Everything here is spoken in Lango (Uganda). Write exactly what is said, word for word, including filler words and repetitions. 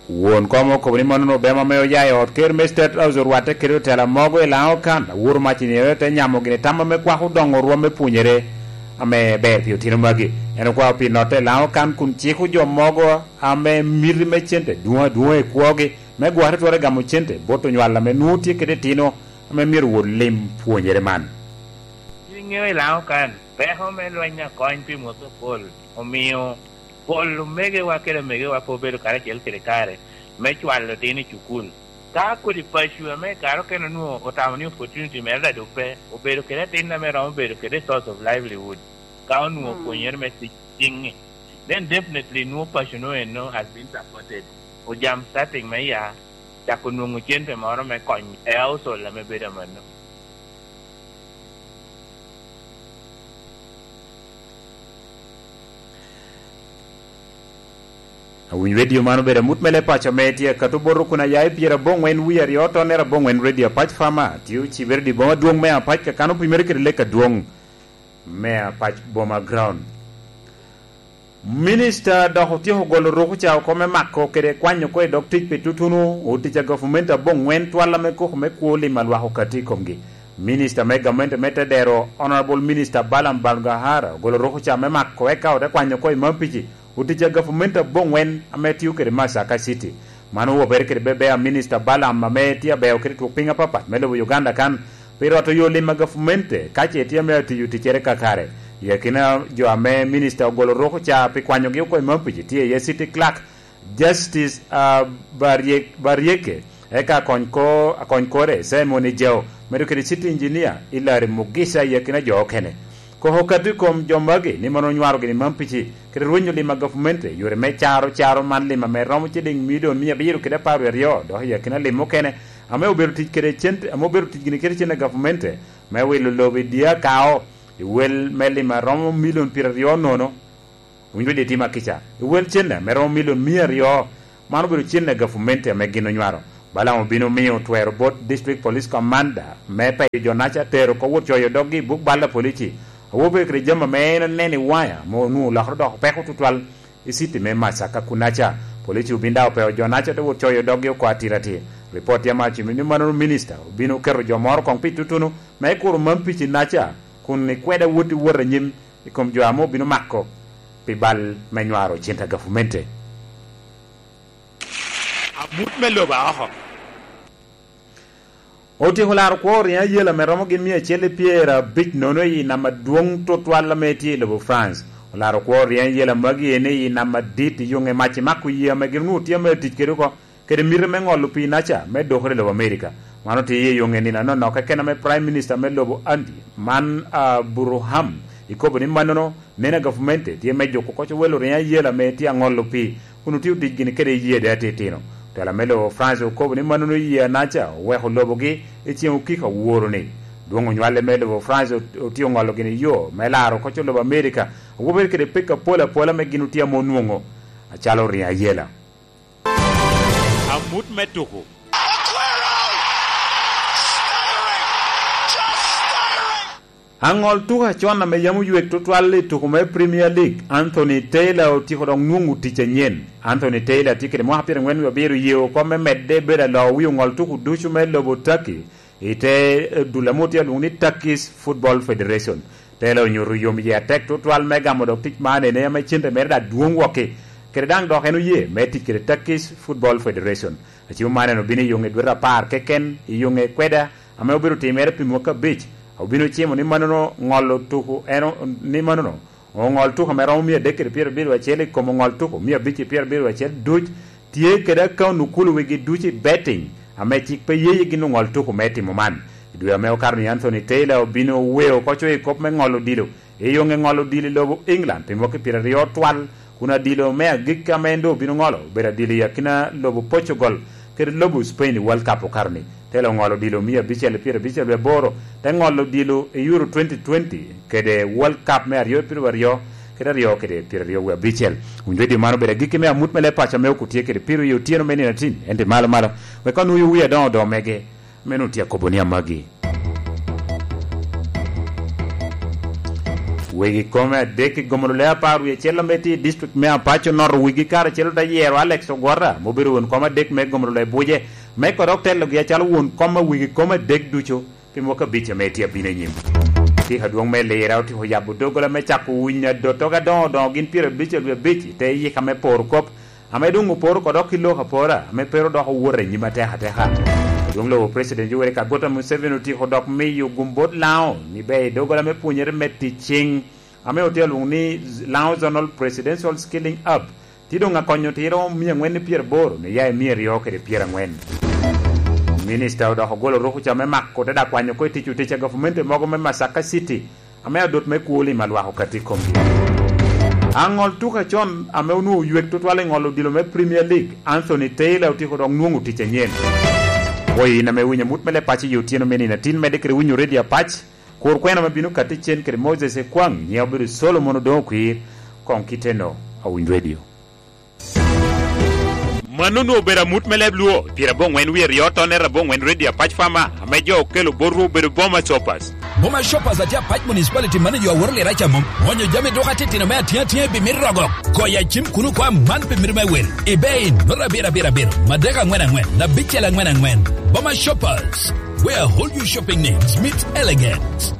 Won kom okobo ni mannono obema ame oya i ot ker me State House orwatte kede otela mogo i Laŋo kan, aworo mac i nino te nyamo gini tam ame kwako doŋo rwom me pwonyere ame ber pi otino magi. En okwao pi notte i Laŋo kan kun ciko jo mogo ame miti me cente dwoŋ adwoŋa i kwogi me gwokere twero gamo cente bot onywal ame nwoŋo tye kede itino ame myero wot lim pwonyere man. Yin iŋeo i Laŋo kan, peko me lweny akony pi Mosopol omio pol omegowa kede omegowa pe obedo karacel kede kare me cwalo otino i cukul. Ka kodi paco ame i kare okene onwoŋo otamo ni opportunity mere daŋ doŋ pe, obedo kede atin ame romo bedo kede source of livelihood, ka onwoŋo pwonyere me tic ciŋ-ŋi, then definitely nwoŋo paco-nu eno has been supported. Ojam starting me ya, cako nwoŋo cente moro me kony i household ame bedo amanno. Awinyo redio man obedo amut me leb paco ame tye akato boto kun aya i pyeraboŋwen wie aryo tonnere aboŋwen redio Apac Fama tye ocibere di boma dwoŋ me Apac kakan opimere kede lek adwoŋ me Apac Boma Ground. Minista dok otyeko golo rukuca oko me mako kede kwanyo oko i dog tic pi tutuno otic a gavumenti aboŋwen twal ame koko me kwo lim a lwak okati i komgi. Minista me gamente me Tedero, Honorable Minister Balaam Balgahara, ogolo rukuca me mako eka ote kwanyo oko i Mampici otic a gavumenti aboŋwen ame tio kede Masaka City. Man owobere kede bebea Minista Balaam ame tye abeo kede twok piny apapat me lobo Uganda kan pi rwato yo lim a gavumenti ka ce tye ame atiyo ticcere kakare. I akina jo ame minista ogolo rukuca pi kwanyogi oko i Mampici tye iye City Clerk, Justice, ah, Baryek-, Baryeke, eka akony ko-, akony kore, Simon Ejao, medo kede City Engineer, Hilary Mugisha, i akina jo okene. Koko okato i kom jo magi ni man onywaro gini Mampici kede rwenyo lim a gavumenti, yore me caro caro man lim ame romo ciliŋ milion mia abiro kede apar wie aryo, dok i akina lim mukene ame obedo tic kede cente, ame obedo tic gini kede cente a gavumenti me wilo lobo i Diakao, i wel me lim a romo milion pyeraryo nono. Owinjo di tima kica, i wel cente ame romo milion mia aryo, man obedo cente a gavumenti ame gin onywaro. Balaam obino miyo twero bot District Police Commander me peyo jo-naca tero oko wot coyo doggi i buk bal a polici, awobe kede jami ame en oneno i waya ame onwoŋo olokere doko peko tutwal i city me Masaka kunaca. Polici obin daŋ opeo jo-naca te wot coyo doggi oko atiratir. Ripot tye ame ocimo ni mannono minista obino keto jo moro koŋ pi tutuno me kuro man pici-naca kun ikweda wot i wot anyim i kom jo ame obino mako pi bal me nywaro cente a gavumenti. Amut me lobo a oko. Otyeko laro kwo riŋo ayela ame romo gin mia acel i pyerabic nono i nam adwoŋ tutwal ame tye i lobo France. Olaro kwo riŋo ayela magi ene i nam adit i yoŋe mac i mako yee ame gin onwoŋo tye ame tic kede oko kede miti me ŋolo pii-naca me dokere i lobo Amerika. Man otye i yoŋe nino anonok keken ame Prime Minister me lobo Andy, man, ah, Burham, ikobo ni mannono neno a gavumenti tye me juko koc owelo riŋo ayela ame tye aŋolo pii kun otio tic gini kede yee de atitino. Otela me lobo France okobo ni mannono yee-naca oweko lobogi i ceŋ okiko aworo-ni. Dwoŋ onywale me lobo France ot-, otye oŋolo gini yo me laro koc olobo Amerika, awobe kede peko apol apola ame gin otye ame onwoŋo acalo riŋo ayela. Amut me tuko. Aŋol tuko acon ame yam oywek tutwal i tuko me Premier League, Anthony Taylor otyeko dok nwoŋo tic anyen. Anthony Taylor tye kede mwaka pyeraŋwen wie abiro, oye oko me medde bedo aloo wi oŋol tuko ducu me lobo Turkey i te, eh, dul ame otye alwoŋo ni Turkish Football Federation. Taylor onyuto yom yie atek tutwal me gamo dok tic man ene ame cente mere daŋ dwoŋ wokki. Kede daŋ dok en oye me tic kede Turkish Football Federation. Acimo man en obino i yoŋe dwete apar keken i yoŋe kweda ame obedo timere pi mwaka abic. Obino cimo ni mannono ŋolo tuko en o-, ni mannono oŋol tuko ame romo mia adek kede pyerabiro acel i kom oŋol tuko mia abic kede pyerabiro acel duc tye kede akaun okulu wigi ducu i betting ame cik pe yeye gin oŋol tuko me timo man. I dwe ame okato ni Anthony Taylor obino weo oko coyo i kop me ŋolo odilo i yoŋe ŋolo odilo i lobo England pi mwaki pyeraryo twal, kun adilo me agikki ame en doŋ obino ŋolo obedo adilo i akina lobo Portugal kede lobo Spain i World Cup okato ni. Taylor oŋolo odilo mia abicel pyerabicel wie aboro, te ŋolo odilo i Euro twenty twenty kede World Cup me aryo pyeraryo aryo kede aryo kede pyeraryo wie abicel. Wun redio man obedo agikki me amut me leb paco ame okutye kede piro i otyeno me nino atin, ento malo malo, wek onwoyo wi adoŋo odoŋo mege, meno tye akobo ni amagi. Wegi kome adek i gomolo le apar wie acel ame tye i district me Apac onoto wigi karacel ote yero Alex Ogwota, ma obedo won kom adek me gomolo le buce, me kodok telogi acalo won kom a wigi kome adek ducu pi mwaka abic ame tye abino i nyim. Atika adwoŋ me Lira otyeko yabo doggola me cako winyo adottoge adoŋo doŋo gin pyerabic wie abic i te yika me poro kop, ame doŋ oporo kodok ki lok apora, ame pe ru dok owot i nyim atek ateka. Adwoŋ lobo President Yoweri Kaguta Museveni otyeko dok miyo gum bot Laŋo ni ber i doggola me pwonyere me tic ciŋ, ame otye alwoŋo ni Laŋo Zonal Presidential Skilling Hub, tye doŋ akonyo otiro mia aŋwen ni pyeraboro ni ya i mia aryo kede pyeraŋwen. Minista odok ogolo rukuca me mako te dak kwanyo oko i tic otic a gavumenti mogo me Masaka City, ame adot me kwo lim alwako kati i komgi. Aŋol tuka con ame onwoŋo oywek tutwal i ŋol odilo me Premier League, Anthony Taylor otyeko dok nwoŋo tic anyen. Pwoyo in ame winyo amut me leb paco i otyeno me nino atin, medde kede winyo redio Apac, kur kwena ame bino kati cen kede Moses Ekwaŋ, nyiŋe obedo Solomon Odoŋo Kwir, koŋ kiteno awiny redio. Mano onwoŋo obedo amut me leb Luo, pyerabongwen wie aryo tonnet abongwen redio Apac Fama, ame jo okelo botwu obedo Boma Shoppers. Boma Shoppers atye Apac Municipality manager aworo lira ca mom. Onyo jami duka titino me atiŋ atiŋ i bimit rogo. Koya cim kuno kwa man pi mito me wel. Ibe in, nota abiro abiro abiro, madek aŋwen aŋwen, abicel aŋwen aŋwen. Boma Shoppers, where all your shopping needs meet elegance.